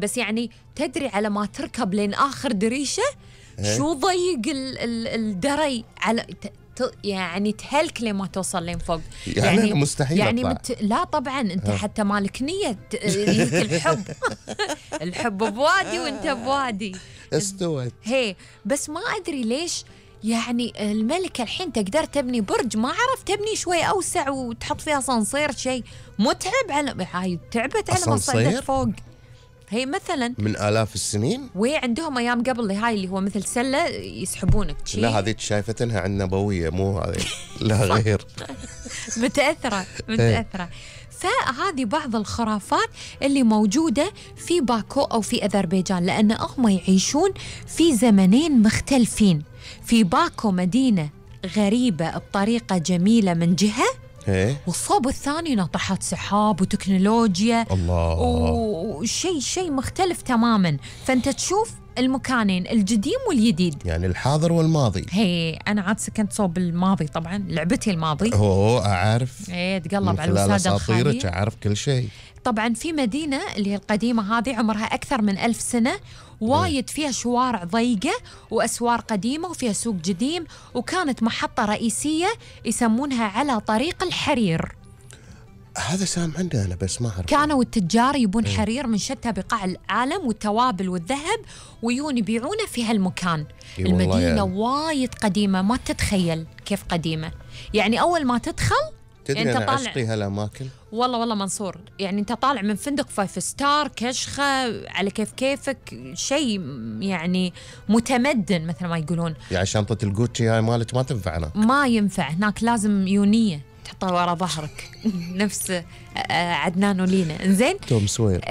بس يعني تدري على ما تركب لين آخر دريشة شو ضيق الدري على يعني تهلك لما توصل لين فوق. يعني مستحيل يعني لا طبعا انت حتى مالك نية الحب الحب بوادي وانت بوادي استوت. هي بس ما ادري ليش يعني الملكة الحين تقدر تبني برج، ما عرف تبني شوي اوسع وتحط فيها صنصير، شيء متعب على هاي تعبت على ما صعدت فوق. هي مثلا من آلاف السنين، وعندهم ايام قبل هاي اللي هو مثل سله يسحبونك. لا هذه شايفتنها عن نبويه مو هذه لا غير. متاثره. فهذه بعض الخرافات اللي موجوده في باكو او في اذربيجان، لان هم يعيشون في زمنين مختلفين. في باكو مدينه غريبه بطريقه جميله من جهه، والصوب الثاني ناطحات سحاب وتكنولوجيا الله، وشيء مختلف تماما. فأنت تشوف المكانين القديم والجديد، يعني الحاضر والماضي. هي أنا عاد سكنت صوب الماضي طبعا، لعبتي الماضي. أعرف. تقلب على الوسادة الخالية، أعرف كل شيء. طبعا في مدينة اللي هي القديمة هذه عمرها أكثر من 1000 سنة، وايد فيها شوارع ضيقة وأسوار قديمة وفيها سوق قديم، وكانت محطة رئيسية يسمونها على طريق الحرير. هذا سام عندي أنا بس ما أعرف. كانوا التجار يبون حرير من شتى بقاع العالم والتوابل والذهب ويون يبيعونه في هالمكان. المدينة يعني وايد قديمة، ما تتخيل كيف قديمة. يعني أول ما تدخل تدري يعني أنا عشقي هالأماكن والله منصور، يعني أنت طالع من فندق 5 ستار كشخة على كيفك، شيء يعني متمدن مثل ما يقولون. يعني شنطة الجوتشي هاي مالك ما تنفع هناك، ما ينفع هناك، لازم يونية تحطها ورا ظهرك نفس عدنان ولينا. إنزين توم سوير.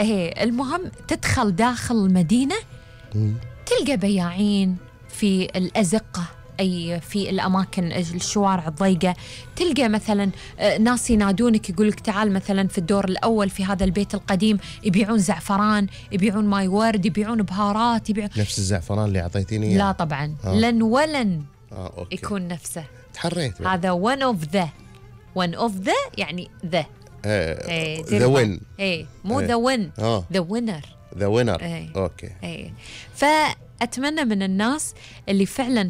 المهم تدخل داخل المدينة تلقى بياعين في الأزقة، أي في الأماكن الشوارع الضيقة. تلقى مثلا ناس ينادونك يقولك تعال مثلا في الدور الأول في هذا البيت القديم يبيعون زعفران، يبيعون ماي ورد، يبيعون بهارات، نفس الزعفران اللي أعطيتيني. لا طبعا لن ولن يكون نفسه. تحريت هذا one of the يعني the win. مو the win the winner. أوكي. فأتمنى من الناس اللي فعلا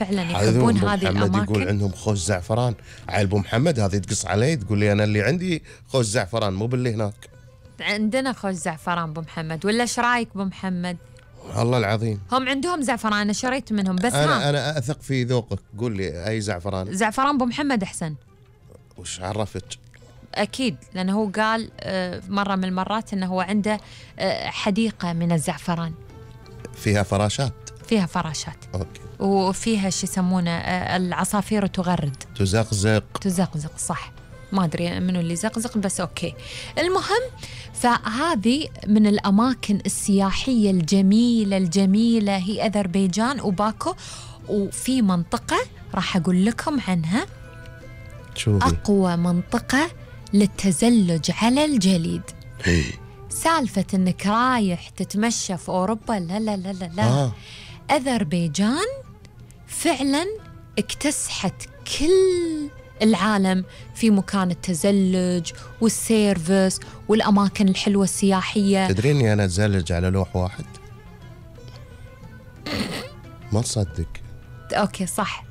يحبون هذه الأماكن. يقول عندهم خوش زعفران. عيل أبو محمد هذه تقص علي تقول لي أنا اللي عندي خوش زعفران مو باللي هناك. عندنا خوش زعفران أبو محمد، ولا إيش رايك أبو محمد؟ الله العظيم هم عندهم زعفران، أنا شريت منهم. بس أنا أثق في ذوقك، قول لي أي زعفران. زعفران أبو محمد أحسن. وش عرفت؟ أكيد لأنه هو قال مرة من المرات أنه هو عنده حديقة من الزعفران فيها فراشات. أوكي. وفيها شو يسمونه العصافير تزقزق صح، ما أدري منو اللي زقزق بس أوكي. المهم فهذه من الأماكن السياحية الجميلة هي أذربيجان وباكو. وفي منطقة راح أقول لكم عنها، أقوى منطقة للتزلج على الجليد. سالفة إنك رايح تتمشى في أوروبا، لا. أذربيجان فعلا اكتسحت كل العالم في مكان التزلج والسيرفس والأماكن الحلوة السياحية. تدريني أنا أتزلج على لوح واحد؟ ما تصدق. أوكي صح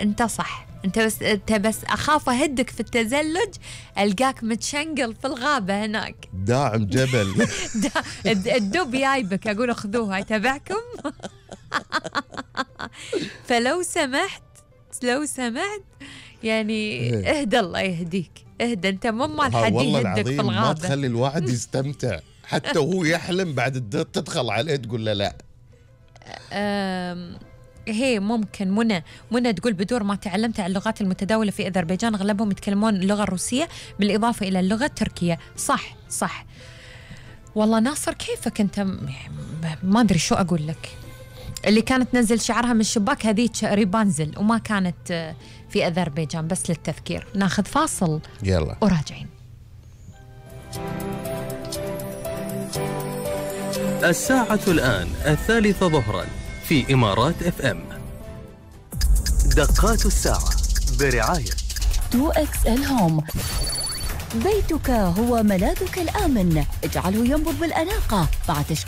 أنت صح، أنت بس أخاف أهدك في التزلج ألقاك متشنقل في الغابة هناك داعم جبل. الدب جايبك، أقول أخذوه هاي تبعكم. فلو سمحت يعني اهدى، الله يهديك، اهدى. أنت مو مال حد يهدك في الغابة. ما تخلي الواحد يستمتع حتى وهو يحلم بعد تدخل عليه تقول له لا. هي ممكن منى تقول بدور ما تعلمت عن اللغات المتداولة في أذربيجان أغلبهم يتكلمون اللغة الروسية بالإضافة إلى اللغة التركية. صح. والله ناصر كيفك أنت، ما أدري شو أقول لك. اللي كانت تنزل شعرها من الشباك هذيك ريبانزل وما كانت في أذربيجان. بس للتذكير ناخذ فاصل يلا وراجعين. الساعة الآن 3 ظهرا في إمارات FM. دقات الساعة برعاية 2XL هوم. بيتك هو ملاذك الآمن، اجعله ينبض بالأناقة مع تشكيل